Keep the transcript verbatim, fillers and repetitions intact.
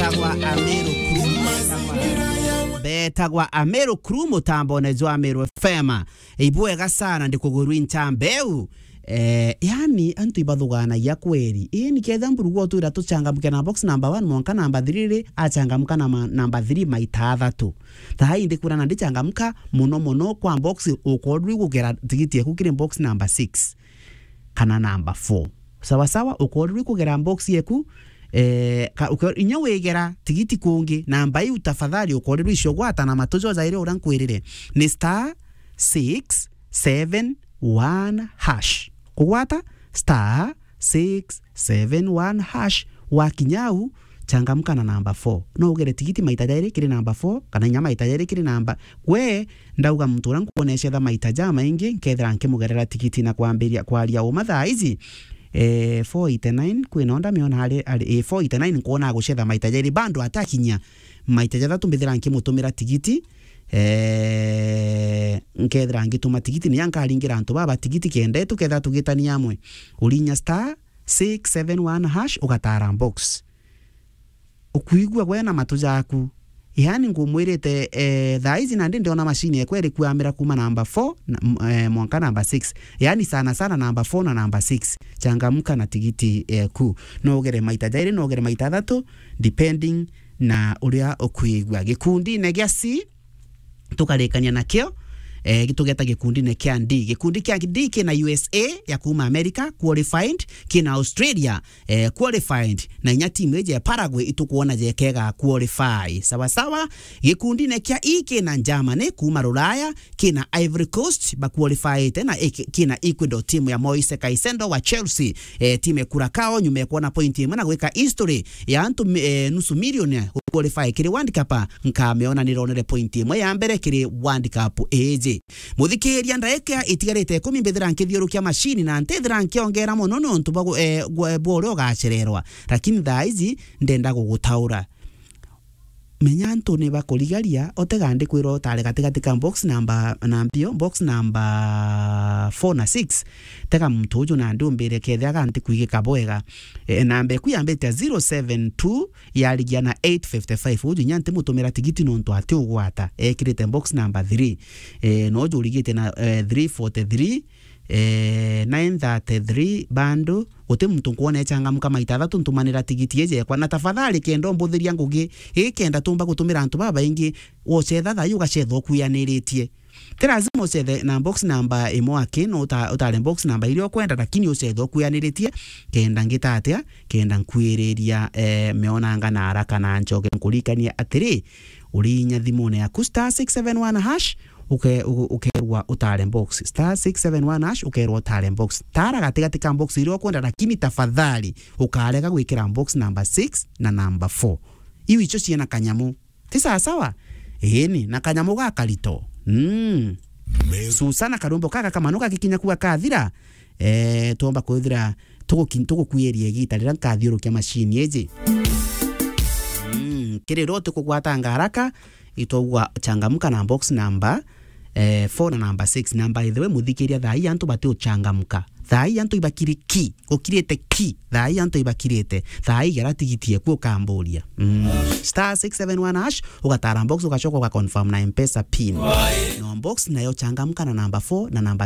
Betagwa Ameru Crew, betagwa, betagwa Ameru Crew, mutambone jwa Ameru F M. Ibwega sana, ndikugurwi nchambeu. Eh, yani, antu ibathuganagia kweri. Ii, niketha mburugu otwira tuchangamke na box number one mwanka number three ri, achangamka na ma-, number three maita athatu. Thaa ii ndikwira na ndichangamka muno muno kwa box, ukorwi kugera tigiti eku kiri box number six kana number four. Sawa sawa, ukorwi kugera box yeku, eh, ka-, uke-, inya wigera tigiti kungi, namba iu tafadhali ukorwi icio gwata na matu jojairi uria nkwirire. Ni star six seven one hash. Kugwata star six seven one hash. Wakinya au, changamka na namba four. No ugere tigiti maita jairi kiri namba four, kana inya maita jairi kiri namba. We, ndauga muntu uria nkwona ecetha maita jamaingi, nkethira nkimugerera tigiti na kwambiria kwaria uma thaa ici. Eh, four eighty-nine, kwina onda miona ari, ari, eh, four eighty-nine nkwona agucetha maita jairi, bado atakinyia maita jathatu mbithira nkimutumira tigiti. Eh, nkethira ngituma tigiti, niya nkaringira antu baba tigiti kenda tukethira tugitania amwe. Urinya star six seven one hash, ugatara box. Ukuigua gwe na matu jaku. Yani ngumwirite, eh, thaa ici nandi ndiona machine ekwa iri kuamira kuma namba four na, m-, eh, mwanka namba six. Yani sana sana namba four na namba six. Changamka na tigiti eku. No ugere maita jairi, no ugere maita athatu, depending na uria ukuigua. Gikundine gia C, tukarikania nakio, eh, gitugeta gikundine kia D. Gikundi kia D kina U S A ya kuma America qualified, kina Australia, eh, qualified, na inya timu iji ya Paraguay itukwona jekega qualify. Sawa sawa, gikundine kia E kina Germany kuma Ruraya, kina Ivory Coast ba qualified, na iki-, kina Ecuador, timu ya Moise Caicedo wa Chelsea, eh, timu ya Curacao nyuma ya kuona point imwe na gwika history ya antu mi-, eh, nusu milioni qualify kiri World Cup, nkamiona nironere point imwe ya mbere kiri World Cup iji. Muthikiria, ndaika itigarite ikumi mbithira nkithiurukia machine na ntithira nkiongera mono nontu bwa gu-, eh, gwe-, bwa uria ugacererwa. Lakini thaa ici ndenda gugutaura. Menya antu ni bakurigaria, utega ndikwira utare gatigati ka box number, na mbio, box number four na six. Tega muntu uju nandi umbire kethira ganti kwigika bwega. E, namba eku yambite zero seven two, yarigia na eight fifty-five. Uju inya ntimutumira tigiti nontu ati ugwata. Ekirite box number three. E, no uju urigite na, e, three forty-three, e, nine thirty-three bando. Guti muntu nkwona echangamka maita athatu ntumanira tigiti iji ekwa. Na tafadhali kenda umbuthiria ngugi, ii kenda tumba gutumira antu babaingi, wocetha thaa ii ugacetha ukuyaniritie. Ti lazima ucethe na box number imwe aki, no uta-, utare box number iria ukwenda, lakini ucethe ukuyaniritie, kenda ngita atia, kenda nkwiriria, eh, meonanga na haraka na nchoke nkurikanie atiri, urinya thimune yaku star six seven one hash, uke-, u-, ukerwa utare box. Star six seven one hash, ukerwa utare box. Tara gatigati ka box iria ukwenda, lakini tafadhali ukarega gwikira box number six na number four. Iu icio ciina kanyamu. Ti sawa sawa? Iini, na kanyamu gakarito. Mm. Susana karumbo kaka kamanu gagikinya kuga kathira, eh, twomba kwithira tuguki-, tugukuiria igita riria nkathiurukia machine iji. Mm, kiri ro tukugwatanga haraka, itwaugwa changamka na box number, eh, four na number six. Na by the way, muthikiria, thaa ii antu bati uchangamka. Thaa ii antu ibakiri ki, gukirite ki. Thaa ii antu ibakirite. Thaa ii gera tigiti eku ukamburia. Mm. Star six seven one hash, ugatara box, ugacoka ugaconfirm na M-Pesa pin. No box nayo changamka na number four na number six.